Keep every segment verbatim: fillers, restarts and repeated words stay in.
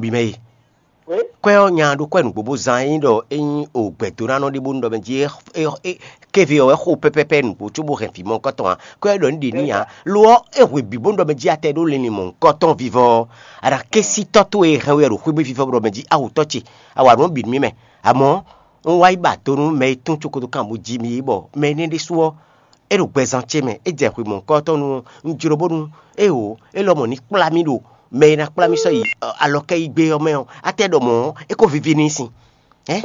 nɔbí mɛ e. Kwɛ ɔ́, nya ɖó kwɛ nǔgbó bó zán ényí ɖɔ é nyí o gbɛ̌dónánɔ ɖé bónú ɖɔ mɛ jí é, é, é, kéve ɔ́ wɛ xo pɛ́pɛ́pɛ́ nǔgbó cóbó hɛn vǐ mɔ̌hunkɔtɔn ǎ. Kwɛ ɔ́ ɖɔ nǔ ɖě n'i ǎ. Lo ɔ́, é hwe bǐ bónú ɖɔ mɛ jí a tɛ ɖó linlin mɔ̌hunkɔtɔn vivɔ ɔ́, a nǎ ké sí tɔ́ towe e hɛn we wɛ ɖo xwé bǐ vivɔ bó ɖɔ mɛ jí a hu tɔ́ ce, a wa nǔ ɔ́ bǐ nú mì mɛ. Amɔ̌, un wá yi ba do nú mɛ e tún cokotokan bó jí mì é bɔ mɛ énɛ́ ɖésú ɔ́, é ɖo gbɛzán ce mɛ, é jɛ hwe mɔ̌hunkɔtɔn nu ɔ́, un jló bónú é wǒ, é lɔmɔ̌ ní kplá mì ɖo mɛ e ná kplá mì sɔ́ yi alɔkɛ́yígbé ɔ́ mɛ ɔ́, a tɛ ɖɔ mɔ̌ ɔ́, é ko vivi n'i sin. Hɛn?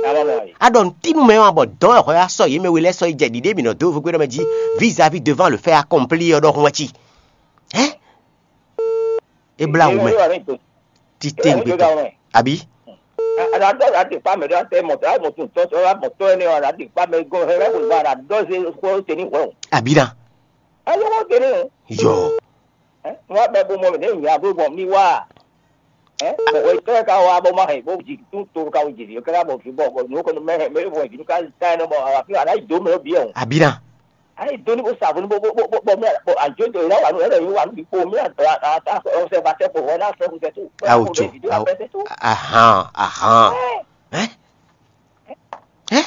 A ɖɔ nǔtímú mɛ ɔ́, a bɔ dɔ̌n wɛ hwɛ wá sɔ́ yě mɛ we lɛ́ɛ sɔ́ yi jɛ ɖiɖe mǐ nɔ dó vo gbé ɖɔ mɛ jí, vis-à-vis devant le fait accompli ɔ́ ɖɔhun wɛ ci. Hɛn? É blá wǔ mɛ títí gbé tɔn, àbí? Àdàdɔ àdìpá mɛ ɖé àtẹ mɔtò àmọtò tɔtɔ àmọtò ẹni ɔ àdìpá mɛ gɔn hẹ bẹ kò gba àdàdɔ ṣe kó tẹ ní wẹ o. Àbí na? Ayé wọn tẹ ní o. Yɔ. Wọn bẹ bó mọ mi ní ìyá bó mọ mi wá. Bɔn ìtọ́ ká wá bó má hẹ bó jì tún tó ká wó jì ká bọ̀ fi bọ̀ bọ̀ nù kọ́ni mẹ́hẹ̀ mẹ́hẹ̀ bọ̀ ìdí ká tá ẹ̀ nọ bọ̀ àfi àná ìdó mẹ́ bí ẹ̀ o. Àbí na? Ayi doni bó sa boni bó bó bó bó bó mɛ bó anjo do la wanu ɛlɛ yi wanu bi kpo mi ata ata ɔsɛ ba tɛ kpo wɛ na sɛ kusɛ tu. Awo tso awo. Ahan ahan. Ɛ ɛ.